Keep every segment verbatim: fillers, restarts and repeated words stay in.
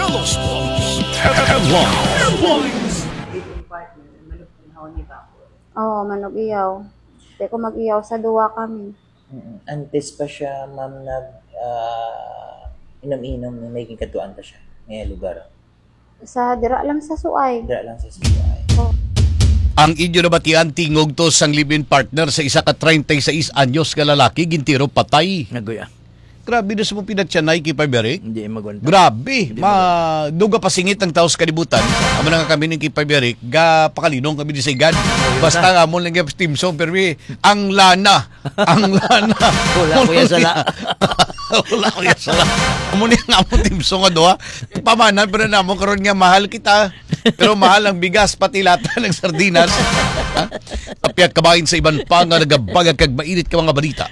Headlines. Headlines. Living partner, manugtunhaw ni Bako. Oo, manug-iyaw. Di ko mag-iyaw sa duwa kami. Mm-mm. Antes pa siya, ma'am, nag, ah, inom-inom, may gikadtuan pa siya. May lugar. Sa dira lang sa Suay. Dira lang sa Suay. Oh. Ang inyo nabatian, tingog to sang live-in partner sa isa ka treinta y seis anyos nga lalaki, gintiro patay. Naguya. Grabe na sa mong pinatyanay kay Paberic. Hindi magwanta. Grabe. Hindi Ma-, magwanta. Duga pasingit ang taos kalibutan. Amo na nga kami ning kay Paberic, ga pakalinong kami di sa igad. Ayun. Basta na. Amo lang yung team song, pero eh, ang lana. Ang lana. Wala ko yan sala. Wala ko yan sala. Amo ni ang amo team song nga duha. Pamanan, pero namo karon nga mahal kita. Pero mahal ang bigas, pati lata ng sardinas. Ha? Apyat kabahin sa iban pa nga nagabagag kag mainit ka mga balita.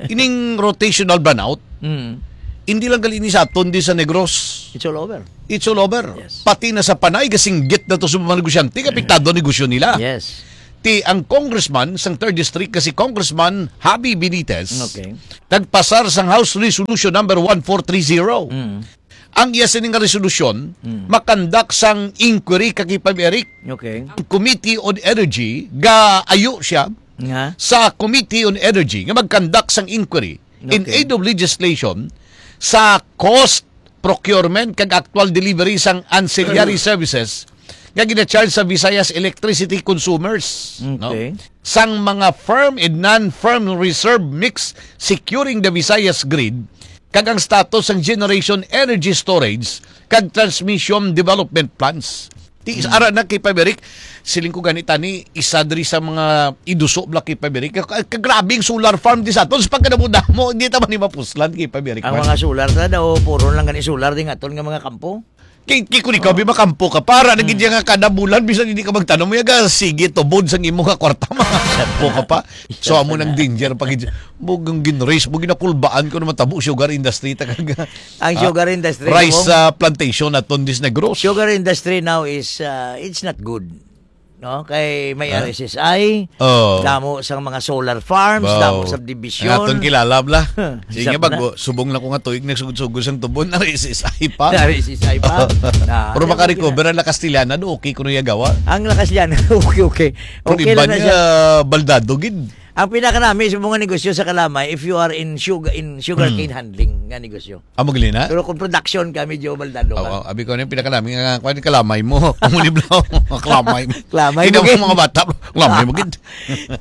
Ining rotational brownout, Mm. hindi lang gali ni sa aton di sa Negros. It's all over. It's all over. Yes. Pati na sa Panay, gasinggit na to sa mga negosyante, nga apektado ang negosyo nila. Yes. Ti ang congressman sang third district, nga si Congressman Javi Benitez, Okay. nagpasar sang House Resolution number one four three zero. Mm. Ang iya sini nga resolusyon, Mm. makandak sang inquiry kag ipab-, Eric, Okay. ang Committee on Energy, gaayo siya Nga? sa Committee on Energy nga magkandak sang inquiry in Okay. aid of legislation sa cost, procurement, kag actual delivery sang ancillary services nga gina-charge sa Visayas electricity consumers, no? Okay. Sang mga firm and non-firm reserve mix securing the Visayas grid, kag ang status sang generation energy storage kag transmission development plans. Ti, Hmm. ara na kay Paberic, siling ko gani tani, isa diri sa mga iduso bla kay Paberic. Ka-, ka-, grabe ang solar farm di sa aton. Sa pagkadamo-damo, hindi ta man ni mapuslan kay Paberic Ang man. mga solar na daw, puro lang gani solar di nga aton nga mga kampo. Kay, kay kung ikaw, Oh. bi makampo ka, para na gid Mm. nga kada bulan, bisan hindi ka magtanom, ya ga, sige, tubod sang imo nga kwarta, makampo ka pa. So, amo nang danger pa gid. Mo, ang ginraise mo, ginakulbaan ko na matabo sugar industry, ta kag, Ang ah, sugar industry, rice, mo? ah, plantation aton dis Negros. Sugar industry now is, ah, it's not good. No? Kay may Ah? R S S I, Oh. damo sang mga solar farms, Wow. damo subdivision. Ang aton kilala, bla. Sige, Sab na. bago, subong lang ko nga tuig, nagsugod-sugod sang tubon, R S S I pa. R S S I pa. Ah, Pero okay, makarecover okay na. Ang La Castellana, do okay kuno iya gawa. Ang La Castellana, okay, okay. Pero Okay iba lang na niya, siya. baldado gid. Ang pinakanami sa mga negosyo sa Kalamay, if you are in sugar, in sugarcane Mm. handling nga negosyo. Amo gali na? Pero kung production ka, medyo baldado ka. Oo, abi ko, ano yung pinakanami nga, kwan, kalamay mo. Ang uliblaw, kalamay mo. Kalamay Hindi mo, mo gid. mga bata, kalamay mo, gid.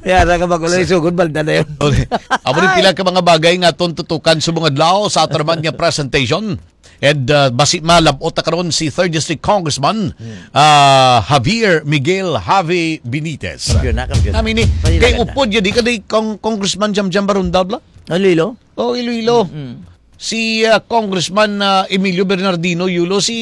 Yara ka, bago lang isugod, balda na yun. Okay. Amo rin Ay. pila ka mga bagay nga aton tutukan sa mga adlaw sa ato naman nga presentation. And, uh, basi malabot na karon si third District Congressman, Hmm. uh, Javier Miguel Javi Benitez. Kampiyon na, kampiyon na. Nami ni, Pwede kay na, upod yun, di ka di Cong-, Congressman Jam Jam Barundal, bla? Iloilo? Oh, Iloilo. Mm. Si, ah, Congressman, ah, Emilio Bernardino Yulo, si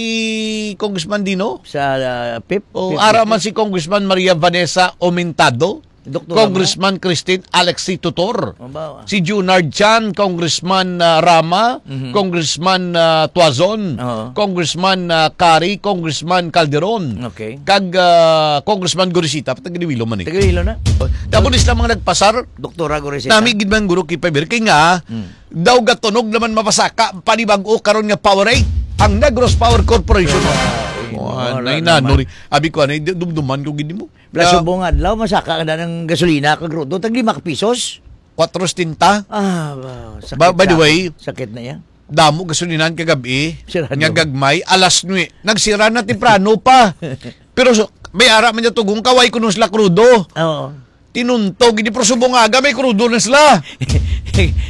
Congressman Dino? Sa, ah, pip? O, Pip, ara pip, man pip. si Congressman Maria Vanessa Aumentado, Doktor Congressman Christine Alexie Tutor, Oh, ba? si Junard Chan, Congressman, ah, Rama, Mhm. Congressman, ah, Tuazon, Oo. Congressman, ah, Kari, Congressman Calderon, Okay. kag, ah, Congressman Gorisita, taga Iloilo man eh. Taga Iloilo na. Tapos sila mga nagpasar, Doktora Gorisita. Nami gid man guro kay Pabir, kay nga, Mm. daw gatunog naman mapasaka, panibag-o karon nga Powerade, ang Negros Power Corporation. Ay, Wa, wala nay naman. nanuri. Abi ko, anay, dumduman ko gid mo. Plus, Ah. subong adlaw, masaka ka na ng gasolina, kag rudo, tag lima ka pisos. Kwatro setenta. Ah, ba, sakit Ba-, by the na. way, Sakit na yan. damo gasolinahan kagabi, Sirado. nga gagmay, alas nuwe. Nagsira na temprano pa. Pero so, may ara man niya tugong kaway kuno sila krudo. Oo. Tinuntog, hindi, pero subong aga, may krudo na sila.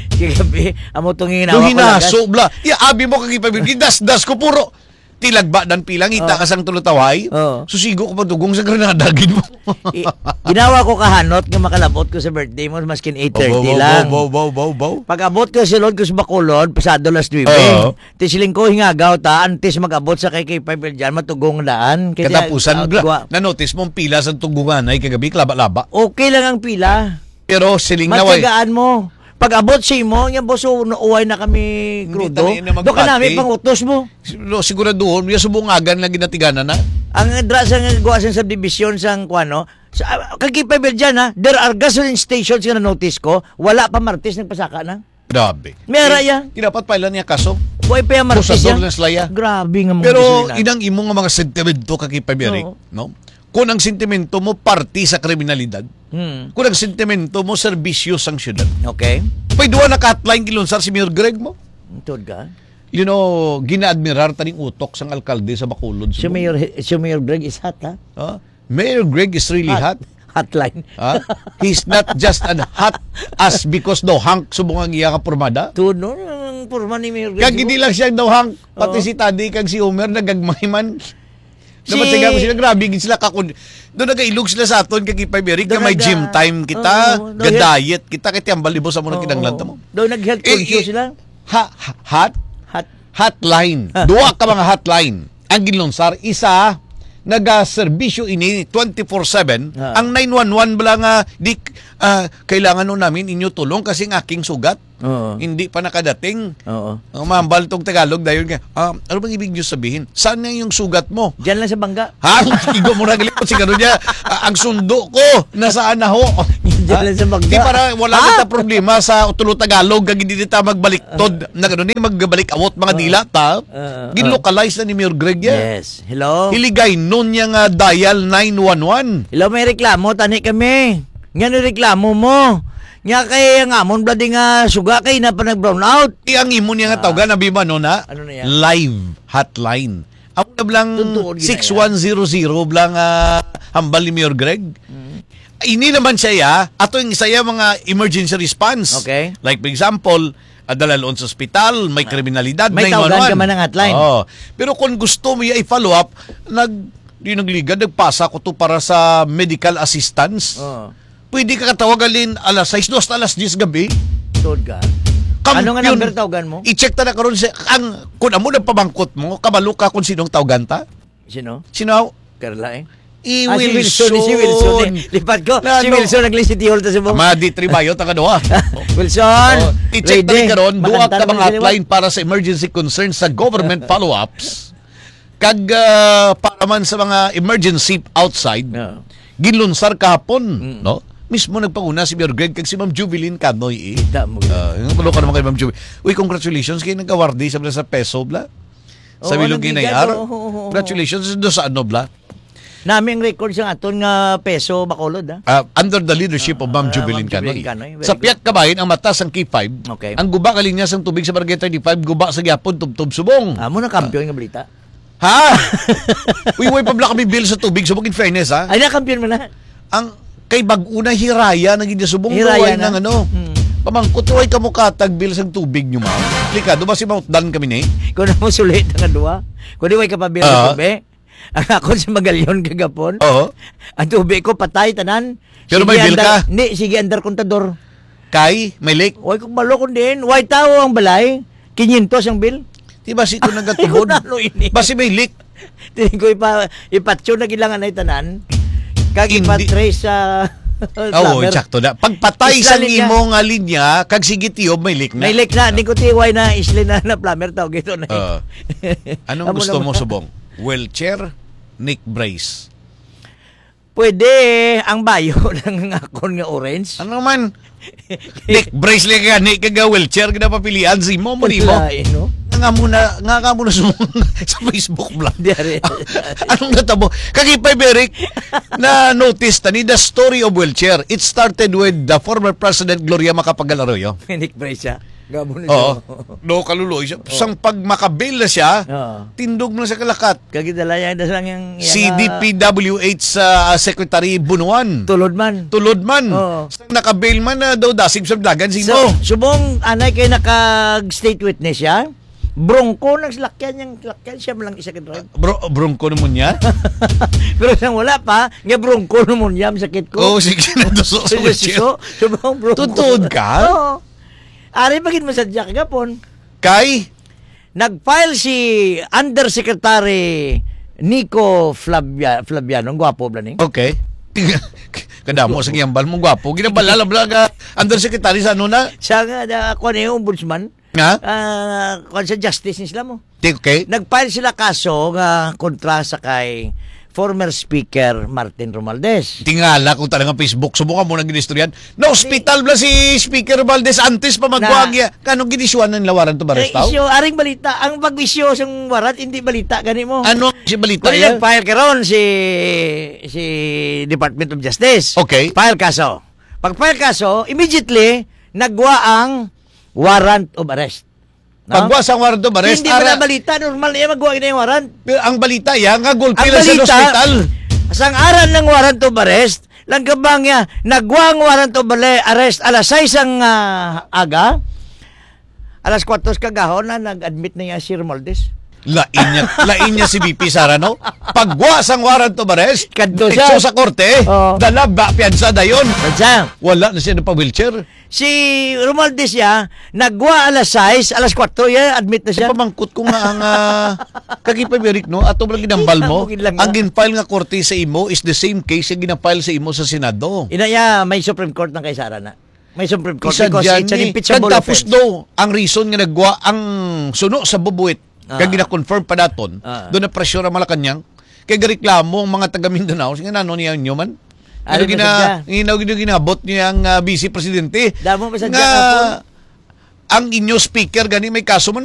Kagabi, amo tong hinawa Yung ko hinaso, lagas. bla. Ya, abi mo, kag ipabib-, gidasdas ko, puro. Tilagba dan pilang, ita Oh. ka sang tulutaway. Oo. Susigo ko pagdugong sa Granada, gid mo. I-, ginawa ko kahanot nga makalabot ko sa birthday mo, maskin eight thirty Obo, obo, lang. obo, obo, obo, obo. Pag-abot ko, sulod ko sa Bacolod, pasado las nuebe. Oo. Ti siling ko, hingagaw ta, antes mag-abot sa kay, kay Pabir dyan, matugong daan. Kaya, Katapusan, ah, bla-, gwa- na-notice mo ang pila sa tugungan ay kagabi, laba-laba. Okay lang ang pila. Pero siling na, way. Matyagaan mo. Pag-abot sa imo, nga, boss, oh, nauway na kami Hindi krudo. tayo na Doon ka namin magpati. pang-utos mo. No, siguraduhon, yung subungagan lang ginatiganan na. Ang dra sa nga gawa sa subdivision sang kuano, sa, ah, kag Pabir dyan, ha, there are gasoline stations nga na-notice ko, wala pa Martes nagpasaka na. Grabe. May ara Eh, iya. Di dapat pailan niya kaso? Wa pa ya martis Abusador ya. na sila ya. Grabe nga mga Pero gisalinan. inang imo nga mga sentimento ka kay Paberic, Oo. no? Kung ang sentimento mo parte sa kriminalidad, Hmm. kung ang sentimento mo serbisyo sang syudad, Okay. pwede wa naka-hotline gilunsar si Mayor Greg mo. Tuod ka? You know, ginaadmirar taning utok sang alkalde sa Bacolod, Si Cebu. Mayor, si Mayor Greg is hot, ha? Ah, Mayor Greg is really hot. Hot. Hotline. Ah, he's not just an hot as because daw hunk subong ang iya nga pormada. Tuod, no? Ang porma ni Mayor Greg Kag Cebu. hindi lang siya daw hunk, pati Oo. si Tadi kag si Homer nagagmay man. Si Dapat sa gamo sila, grabe gid sila kakon. Doon nagailog sila sa aton kag Ipay Eric Doon nga may naga- gym time kita, Oo, doon ga-diet kita, kay tiyambal ibo sa mga Oo. kinanglan ta mo. Doon nag-health Eh, conscious eh, sila. ha-, ha-, hot? Hot. Hotline. Duha ka mga hotline ang ginlunsar. Isa, nagaserbisyo ini twenty-four seven. Ah. Ang nine one one bala nga, "Di, ah, kailangan no namin inyo tulong kasi ang aking sugat Oo. hindi pa nakadating." Oo. Ang mahambal tong Tagalog dayon nga, "Ah, ano bang ibig niyo sabihin? Saan na yung sugat mo?" Diyan lang sa bangga. Ha? Igo mo na gali, siguro niya, "Ah, ang sundo ko, nasaan na ho?" Diyan Ha? lang sa bangga. Di para wala Ha? kita problema sa tulo Tagalog, kag hindi ta magbaliktod, na gano'n, magbalik awot mga Oo. dila ta. Oo, oo. Ginlocalize na ni Mayor Greg yan. Yes. Hello? Hiligay nun niya nga dial nine one one. Hello, may reklamo, tani kami. Nga ni reklamo mo. Nga kay ang amon bloody nga suga kay na pa nag-brown out. Di ang imo niya nga Ah. tawgan, abi ba, no, na? Ano na yan? Live hotline. Amo na blang Tuntuon gid na yan. six one zero zero blang, ah, hambal ni Mayor Greg. Mm. Ini naman siya, ya, ato yung isa ya mga emergency response. Okay. Like, for example, ah, dalaloon sa ospital, may Ah. kriminalidad, May tawgan nine one one. ka man ang hotline. Oo. Pero kung gusto mo ya i-follow up, nag-, di nagligad, nagpasa ko to para sa medical assistance. Oo. Pwede ka katawag alin alas sais, dos hasta alas diyes gabi. Tuod ka. Kampiyon. Ano nga number tawgan mo? I-check ta na karon sa, ang, kung amo nagpamangkot mo, kabalo ka kung sinong tawgan ta? Sino? Sino? Carla, eh. I Ah, si Wilson, si Wilson, eh. Wilson. Lipat ko, Na, si no. Wilson nagli-City Hall ta sa Bong. Ama, di tribayo, taga duha. Wilson, Oh, i-check ta ready. rin karon, duha Makanta ka naman mga sila. hotline para sa emergency concerns sa government follow-ups. Kag, ah, para man sa mga emergency outside, Yeah. ginlunsar kahapon, Mm. no? Mismo nagpanguna si Mayor Greg kag si Ma'am Jubilin Canoy, eh. Kita mo, Ah, yung kulo ka naman kay Ma'am Jubilin. Uy, congratulations kay nagkawardi sa, sa peso, bla. Sa Oo, Bilog nagligad, Inay Ar. oo, oo, oo. Congratulations do sa ano, bla. Nami ang record sa aton nga peso, Bacolod, ah. Ah, under the leadership of Ma'am Ah, Jubilin Ma'am Jubilin Canoy. Canoy, very Sa good. Piak Kabahin, ang mata sang K five, Okay. ang guba kalinya sang tubig sa Barangay thirty-five, guba sa gyapon, tubtob subong. Ah, mo na kampiyon nga balita. Ha? Uy, way pa bala kami bill sa tubig, subong, in fairness, ha? Ay, nakampiyon mo na. Ang kay bag-o na hiraya na gid subong Hiraya duway na. nang ano. Mm. Pamangkot, "Way kamo katag bill sa tubig nyo, ma'am?" Delikado ba si Mount Dan kami ni? Kung mo sulit nga duwa, kung di way ka pa bill sa Ah. tubig, ang ako sa Magalion kagapon, Oo. ang tubig ko patay tanan. Pero Sige, may bill andar, ka? Hindi, sige, andar kontador. Kay, may leak? Way kong balo kung diin. Way tao ang balay. Kinyentos ang bill. Di ba si ko nagatubod? Ano ini? Basi may leak. Tining ko ipa-, ipatyo na gilangan ay tanan. Kag Hindi. ipatrace sa Ah, oo, plumber. Eksakto na. Pagpatay Isla sa linya. imo nga linya, kag sige tiyob, may leak na. May leak na. Di ko tiway na isli na, na plumber tawag ito na. Oo. Anong Amo gusto mo, naman. Subong? Wheelchair, neck brace? Pwede ang bayo lang ang akon nga orange. Ano man? Neck brace lang gani, kag wheelchair, gina papilian si mo, mo, di mo? Lain, no? Nga mo na, nga ka mo na sumung sa Facebook vlog. Di, ari. Anong natabo? Kag Ipay Beric, na-notice ta ni the story of wheelchair. It started with the former President Gloria Macapagal Arroyo. Neck brace siya. Gabo na Oo. siya. No, kaluloy siya. Oo. Sang pag makabil na siya, Oo. tindog mo na sa kalakat. Kagidalayan na lang yung, yung, C D P W H, ah, Secretary Bunuan. Tulod man. Tulod man. Oo. Sang nakabail man na daw dasig sa dagan, sino? So, subong anay kay nakag-state witness siya? Bronco nang salakyan, yung salakyan siya man lang isa ka drive. Bro-, Bronco naman niya? Pero sang wala pa, nga Bronco naman niya, masakit ko. Oo, sige na, to, so, so, Sige, so, so, subong Bronco. Tutuod ka? Oo. Ari pa gid mo sa Jack gapon. Kay? Nag-file si Undersecretary Nico Flavia-, Flaviano. Ang gwapo bala ni. Okay. Kadamo sa giyambal mo, gwapo. Ginabala lang bala ka, Undersecretary sa ano na? Sa nga, da, ako na yung ombudsman. Nga? Ah, kwan sa justice ni sila mo. Di, okay. Nag-file sila kaso nga kontra sa kay former Speaker Martin Romualdez. Tingala kung talagang Facebook, subong mo nang ginistoryan. Na-hospital bala si Speaker Romualdez antes pa magwa ang iya. Kanong ginisyuhan ng warrant of arrest, tao? Isyu, aring balita. Ang pag-isyu sang warrant, hindi balita, gani mo. Ano si balita Kung yan? Nag-file karon si, si Department of Justice. Okay. File kaso. Pag-file kaso, immediately, nagwa ang warrant of arrest. No? Pagwa sang warrant of arrest, hindi ara- pala balita, normal na yan, magwa na yung warrant. Pero ang balita yan, nga gulpi Ang lang sa balita, hospital. Sang aran ng warrant of arrest, lang kabang niya, nagwa ang warrant of arre- arrest alas sais ang ah, aga, alas kuwatro sa kagahon na nag-admit na niya si Romualdez. Lain niya, lain niya si V P Sara, no? Pagwa sang warrant of arrest, Kadto siya. Itso sa korte, Oo. Dala ba piyansa dayon? Kadsa. Wala na siya pa wheelchair. Si Romualdez siya, nagwa alas sais, alas kuwatro, ya, admit na siya. Pamangkot ko nga ang, ah, kagi pa, Eric, no? Ato lang ginambal mo, Bukid lang, ang ah. Gin-file nga korte sa imo is the same case nga gina-file sa imo sa Senado. Ina ya, may Supreme Court ng kay Sara na. May Supreme Court Isa because dyan it's an ni, impeachable kagtapos offense. Daw, ang reason nga nagwa ang suno sa bubuit, Ah. Kag gina-confirm pa daton, Ah. Doon na pressure ang Malacañang. Kay gareklamo ang mga taga Mindanao, sige na, ano niya inyo man? Ano Ano gina, gina-, gina-, ginabot niya ang ah, vice presidente? Damo pa sa Nga, Japon. Ang inyo speaker, gani may kaso man,